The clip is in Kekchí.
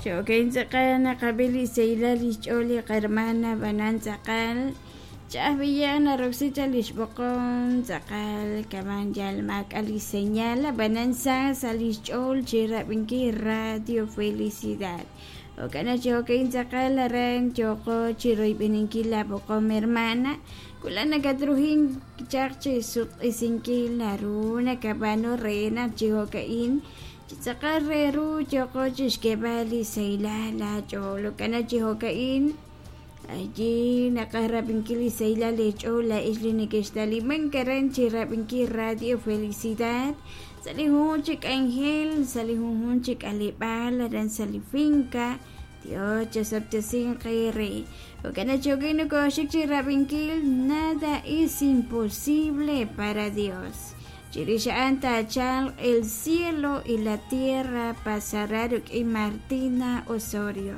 Jo'kan tz'aqal naqab'i li sahilal li xch'ool li qahermana ab'anan tz'aqal ch'a'aj b'iyaq naroksi chaq li xb'oqom tz'aqal kaman yal maak'a' li señal ab'anan sa sa' li xch'ool chi rab'inkil Radio Felicidad. Jo'kan naq chi jo'ka'in tz'aqal aran yooqo chi royb'eninkil laab'oqom hermana wulaj nakatruhink chaq chi sutq'isinkil naru nakab'aanu re naq chi jo'ka'in chi tz'aqal re ru yooqo chi xk'eeb'al li sahilal laach'ool. Jo'kan naq chi jo'ka'in allí naqaj rab'inkil li sahilal eech'ool laa'ex li nekextalimank aran chi rab'inkil Radio Felicidad sa' li junjunq chi k'anjel, sa' li junjunq chi k'aleb'aal aran sa' li finca. Dios chasob'tesinq eere. Jo'kan naq chi jo'ka'in nokooxik chi rab'inkil Nada es imposible para Dios. Chirix a'an taachalq El cielo y la tierra pasará rik'in Martina Osorio.